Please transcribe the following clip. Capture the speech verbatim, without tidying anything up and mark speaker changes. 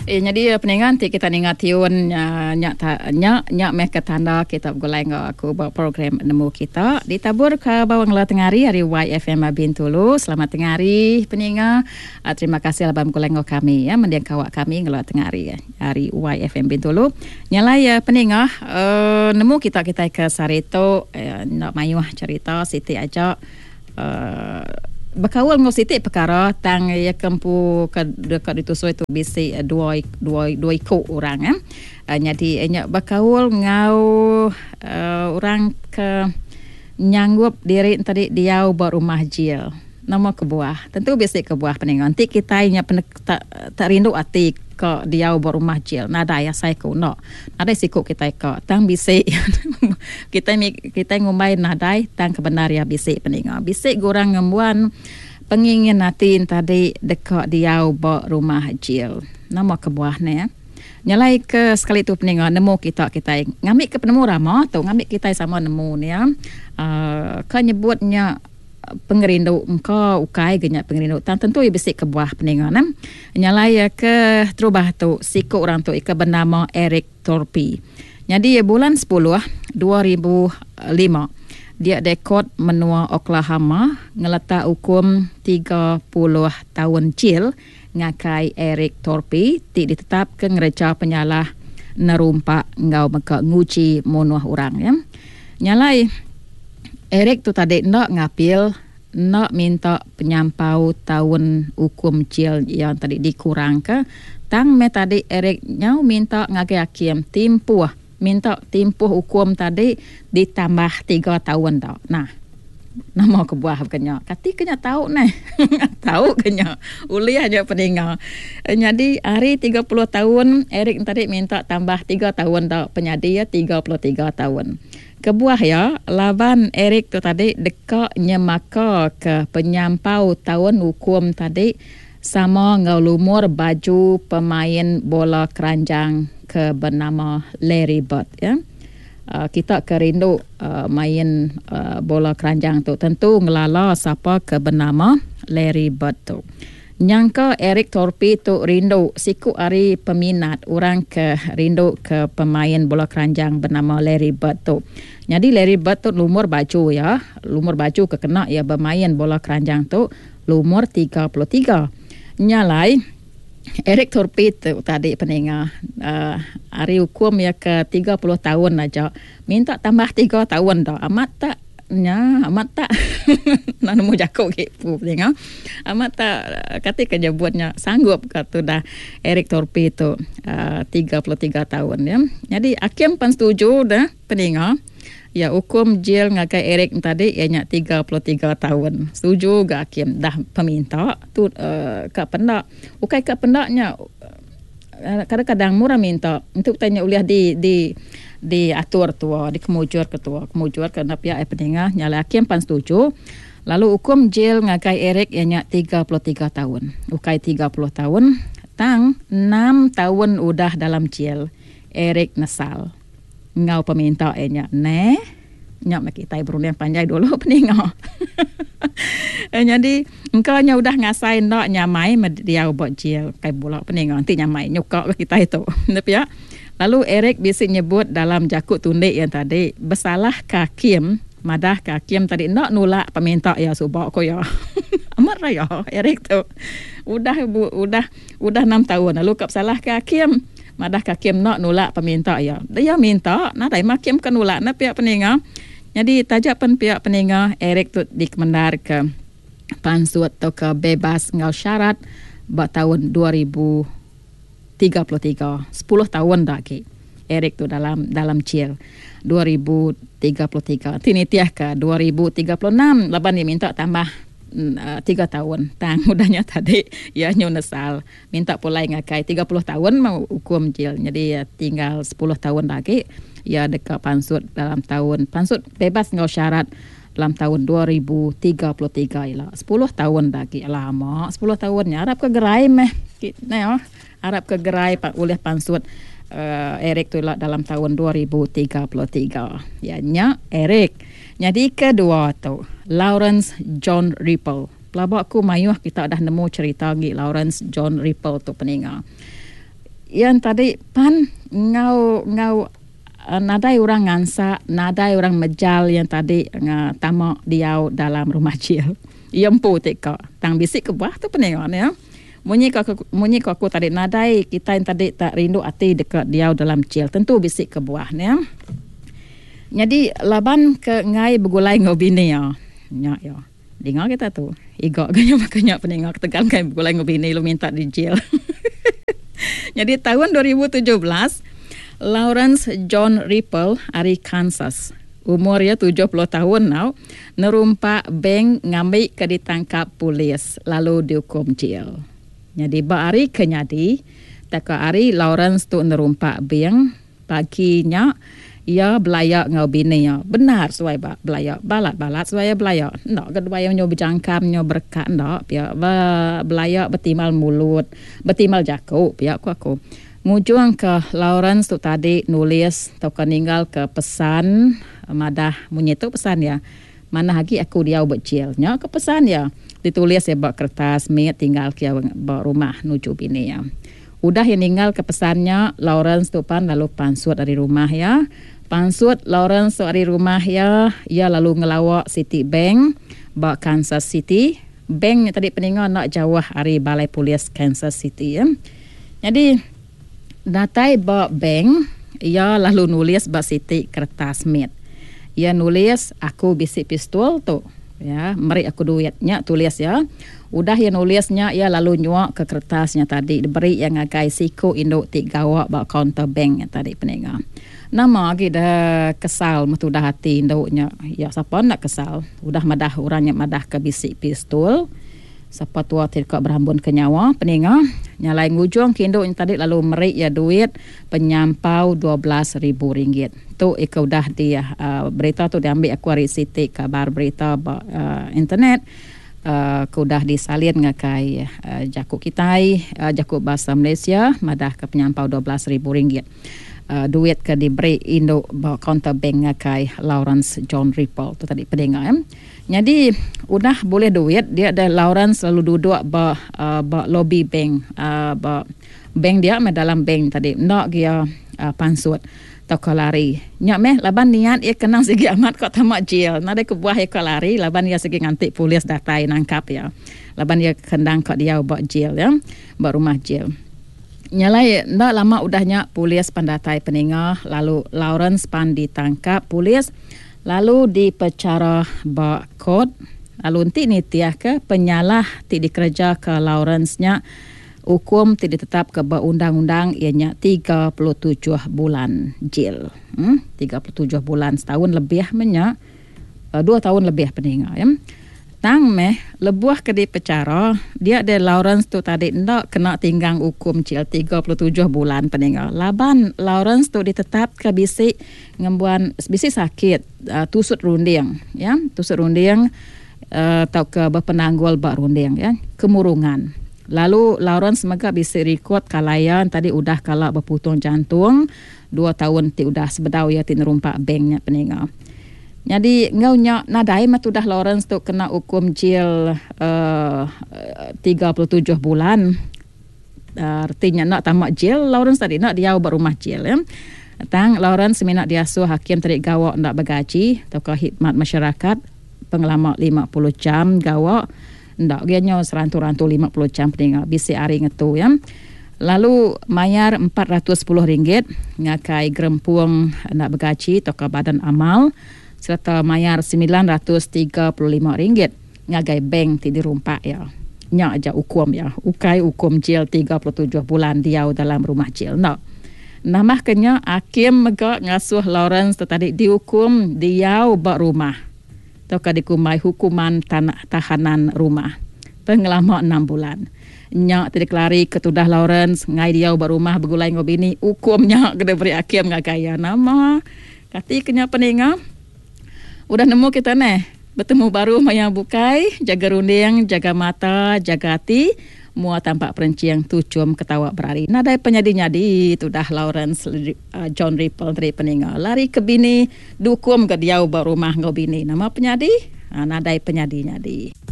Speaker 1: Eh, jadi peningan ti kita ninga tiun uh, nyak ta, nyak nyak meh ke tanda kita begulai enggau aku ba program nemu kita ditabur ke bawang la tengah hari hari Y F M Bintulu. Selamat tengah hari peninga. Uh, terima kasih laban begulai enggau kami ya mendiang kawak kami ngela tengah hari ya, hari Y F M Bintulu. Nyalai ya peninga uh, nemu kita kita ke sarito uh, nak mayuh cerita siti aja uh, bekaul ngau siti perkara tang ya kempu ke dekat ditusui tu bisi dua dua dua iku orang eh. Uh, jadi nya bekaul ngau uh, orang ke nyanggup diri tadi diau ba rumah jil. Nama kebuah? Tentu bisi kebuah peningan. Nanti kita nya pen, tak, tak rindu ati ke diau ba rumah jil. Nadai asai ku no. Nadai siku kita ke tang bisi kita kita ngumbai nadai tang kebenar ya bisi peningan. Bisi gurang ngembuan pengingin ati tadi dekat diau ba rumah jil. Nama kebuah ni ya. Nyalai ke sekali tu peningan nemu kita kita ngambil ke penemu rama tu ngambil kita sama nemu ni ya. Uh, ke nyebutnya pengerindu engkau ukai genyak pengerindu tang tentu ia bisi kebuah peningan nam. Nyalai ke terubah tu siku orang tu ika bernama Eric Torpy. Jadi bulan sepuluh dua ribu lima dia dekod menua Oklahoma ngeletak hukum tiga puluh tahun jil ngakai Eric Torpy ti ditetap ke ngereja penyalah nerumpak ngau meka nguji munuh orang ya. Nyalai Eric tu tadi nak ngapil, nak minta penyampau tahun hukum jil yang tadi dikurang ke. Tang me tadi Eric nyau minta ngagai hakim timpuh, minta timpuh hukum tadi ditambah tiga tahun dak. Nah, nama kebuah kenya. Kati kenya tahu neh. Tahu kenya. Uli hanya peninga. Jadi hari tiga puluh tahun Eric tadi minta tambah tiga tahun dak penyadi ya tiga puluh tiga tahun. Kebuah ya, laban Eric tu tadi dekat nyemaka ke penyampau tahun hukum tadi sama ngau lumur baju pemain bola keranjang ke bernama Larry Bird ya. Uh, kita kerindu uh, main uh, bola keranjang tu tentu ngelala siapa ke bernama Larry Bird tu. Nyangka Eric Torpy tu rindu siku ari peminat orang ke rindu ke pemain bola keranjang bernama Larry Bird tu. Jadi Larry Bird tu lumur baju ya, lumur baju ke kena ya bermain bola keranjang tu lumur tiga puluh tiga. Nyalai Eric Torpy tu tadi peninga uh, hari hukum ya ke tiga puluh tahun aja minta tambah tiga tahun dah. Amat tak nya amat tak nak nemu jakuk gitu peninga. Amat tak kata kejebuatnya sanggup kata dah Eric Torpy tu uh, tiga puluh tiga tahun ya. Jadi hakim pun setuju dah peninga. Ya hukum jil ngagai Eric tadi ianya tiga puluh tiga tahun. Setuju ga hakim dah peminta tu uh, ka pendak. Ukai ka pendaknya kadang-kadang murah minta untuk tanya uliah di di diatur tua, dikemujur ke tua, kemujur ke pihak peninga nyala hakim pan setuju. Lalu hukum jil ngagai Eric ianya tiga puluh tiga tahun. Ukai tiga puluh tahun, tang enam tahun udah dalam jil. Eric nesal. Ngau peminta ianya ne nyak mak kita berunding panjai dulu peninga. Jadi engkau nya udah ngasai ndak nyamai dia buat jil kai bola peninga nanti nyamai nyukak kita itu. Tapi ya. Lalu Eric bisi nyebut dalam jakut tundik yang tadi bersalah kakim madah kakim tadi nak nolak peminta ya subak ko ya. Amat raya Eric tu. Udah bu, udah udah enam tahun lalu kap salah kakim madah kakim nak nolak peminta ya. Dia minta nadai makim ke nolak na pihak peninga. Jadi tajak pen pihak peninga Eric tu dikemendar ke pansut atau ke bebas ngau syarat ba tahun dua ribu tiga puluh tiga, sepuluh tahun dah ke Eric tu dalam dalam jail dua ribu tiga puluh tiga. Tini tiah ke dua ribu tiga puluh enam laban dia minta tambah uh, tiga tahun. Tang udahnya tadi ya nyunesal minta pulai ngakai tiga puluh tahun mau hukum jail. Jadi ya, tinggal sepuluh tahun lagi ya dekat pansut dalam tahun pansut bebas ngau syarat dalam tahun dua ribu tiga puluh tiga ialah sepuluh tahun lagi lama sepuluh tahunnya harap ke gerai meh nah ya harap ke gerai pak oleh pansut uh, Eric tu lah dalam tahun dua ribu tiga puluh tiga ya nya Eric. Jadi kedua tu Lawrence John Ripple. Pelabak ku mayuh kita dah nemu cerita ngi Lawrence John Ripple tu peninga. Yang tadi pan ngau ngau nadai orang ngansak, nadai orang mejal yang tadi tamak diau dalam rumah jil. Ia empu tika. Tang bisik ke buah tu peningan ya. Munyi ko aku, munyi ko aku tadi nadai kita yang tadi tak rindu ati dekat diau dalam jil. Tentu bisik ke buah ya. Jadi laban ke ngai begulai ngau bini ya. Nya ya. Dengar kita tu. Igak ganya makanya peningan ketegal ngai begulai ngau bini lu minta di jil. Jadi tahun dua ribu tujuh belas Lawrence John Ripple ari Kansas. Umur ia tujuh puluh tahun now, nerumpak bank ngambil ke ditangkap polis lalu dihukum jail. Jadi ba hari ke nyadi, tak hari Lawrence tu nerumpak bank paginya ia belayak ngau bini ia. Benar suai ba belayak balat-balat suai belayak. Ndak ke dua nyo berjangkam nyo berkat ndak pia belayak betimal mulut, betimal jakuk pia ku aku. Ngujung ke Lawrence tu tadi nulis atau ke ninggal ke pesan madah munyi tu pesan ya. Mana lagi aku dia berjil. Nya ke pesan ya. Ditulis ya bak kertas mit tinggal ke bak rumah nuju bini ya. Udah yang ninggal ke pesannya Lawrence tu pan lalu pansut dari rumah ya. Pansut Lawrence tu dari rumah ya, ia lalu ngelawak City Bank bak Kansas City. Bank tadi peninggal nak jauh dari balai polis Kansas City ya. Jadi datai ba bank, ia lalu nulis ba siti kertas mit. Ia nulis aku bisik pistol tu. Ya, meri aku duitnya tulis ya. Udah ia nulisnya ia lalu nyuak ke kertasnya tadi diberi yang ngagai siku induk ti gawak ba counter bank nya tadi peninga. Nama lagi dah kesal metu dah hati induknya. Ya siapa nak kesal? Udah madah orangnya madah ke bisik pistol. Siapa tua tidak berambun ke nyawa peninga. Nyalai ngujung kinduk yang tadi lalu merik ya duit penyampau dua belas ribu ringgit. Tu ika udah dia uh, berita tu diambil aku hari Siti kabar berita ba, uh, internet uh, ke udah disalin ngakai uh, jakuk kitai uh, jakuk bahasa Malaysia madah ke penyampau dua belas ribu ringgit. Uh, duit ke diberi induk ba counter bank ngakai Lawrence John Ripple tu tadi peninga ya. Jadi udah boleh duit dia ada Lawrence selalu duduk ba uh, ba lobby bank uh, ba bank dia meh dalam bank tadi nak dia uh, pansut tau ke lari. Nyak meh laban niat ia kenang segi amat kok tamak jail. Nadai kebuah ia ke lari laban ia segi ngantik polis datai nangkap ya. Laban ia kendang kok dia ba jail ya, ba rumah jail. Nyalai ndak lama udahnya polis pandatai peninga lalu Lawrence pan ditangkap polis lalu dipecara ba court lalu nanti ni tiah ke penyalah ti dikerja ke Lawrence nya hukum ti ditetap ke ba undang-undang ianya tiga puluh tujuh bulan jail. Hmm, tiga puluh tujuh bulan setahun lebih menya dua tahun lebih peninga ya. Tang meh lebuh ke dipecara dia de Lawrence tu tadi ndak kena tinggang hukum cil tiga puluh tujuh bulan peninga. Laban Lawrence tu ditetap ke bisik ngembuan bisik sakit uh, tusut runding ya, tusut runding uh, atau ke berpenanggul bak runding ya, kemurungan. Lalu Lawrence mega bisik rekod kalayan tadi udah kalak berputung jantung dua tahun ti udah sebedau ya ti nerumpak banknya peninga. Jadi ngau nyak nadai mah udah Lawrence tu kena hukum jail uh, tiga puluh tujuh bulan. Uh, artinya nak tamak jail Lawrence tadi nak dia buat rumah jail ya. Tang Lawrence minat diasuh hakim tadi gawak nak bergaji atau ke khidmat masyarakat pengelama lima puluh jam gawak ndak dia nyo serantu-rantu lima puluh jam peninga bisi hari ngetu ya. Lalu mayar empat ratus sepuluh ringgit ngakai gerempuang nak bergaji atau ke badan amal serta mayar sembilan ratus tiga puluh lima ringgit ngagai bank ti dirumpak ya. Nyak aja hukum ya. Ukai hukum jail tiga puluh tujuh bulan diau dalam rumah jail. Nak. Namah kenya hakim mega ngasuh Lawrence tadi dihukum diau bak rumah. Atau ka dikumai hukuman tanah tahanan rumah. Pengelama enam bulan. Nyak ti dikelari ketudah Lawrence ngai diau bak rumah begulai ngau bini hukum nyak kena beri hakim ngagai ya nama. Kati kenya peninga. Udah nemu kita neh. Bertemu baru maya bukai, jaga runding, jaga mata, jaga hati, mua tampak perenciang tucum ketawa berari. Nadai penyadi-nyadi tu dah Lawrence uh, John Ripple dari peninga. Lari ke bini, dukum ke diau ba rumah ngau bini. Nama penyadi? Ha, nadai penyadi-nyadi.